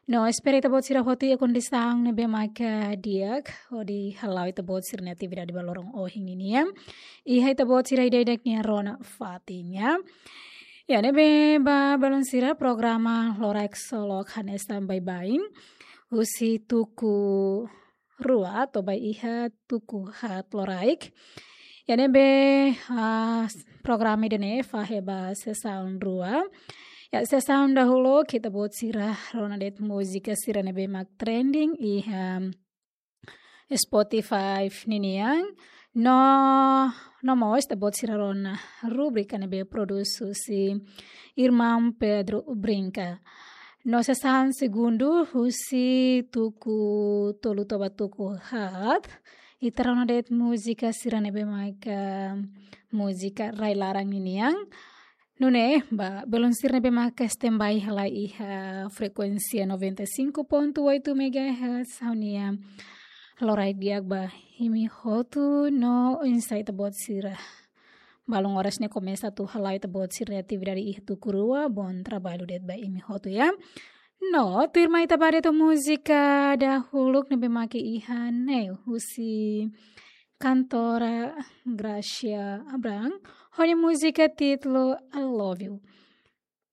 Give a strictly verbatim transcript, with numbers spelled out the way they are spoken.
No, espera ita-boot sira hotu iha kondisaun ne'ebé maka di'ak, hodi hala'o ita-boot sira-nia atividade ba loron ohin nian. Iha ita-boot sira ida-idak nia rona fatin, ya. Ya, ne'ebé ba belun sira, programa Loraik Solok hanesan baibain. Husi tuku rua to'o ba iha tuku haat loraik. Ya, ne'ebé, ah, programa ida-ne'e fahe ba sesaun rua. Ya, sesaun dahuluk ita-boot sira rona de'it múzika sira ne'ebé mak trending iha Spotify ninian. No, no mós ita-boot sira rona rubrika ne'ebé produs husi irmaun Pedro Brinca. No sesaun segundu husi tuku tolu to'o ba tuku haat, ita rona de'it múzika sira ne'ebé maka múzika rai-laran ninian. Nune'e, ba belun sira ne'ebé maka standby halai iha frekuénsia noventa e cinco ponto oito megahertz, ha'u-nia loraik di'ak ba imi hotu no oinsá ita-boot sira. Balun oras ne'e komesa atu hala'o ita-boot sira atividade iha tuku rua, bom trabalho de'it ba imi hotu, ya. No, tuirmai ita ba de'it múzika dahuluk ne'ebé maka iha ne'e husi kantora Gracia Abraham, ho nia múzika títulu I Love You.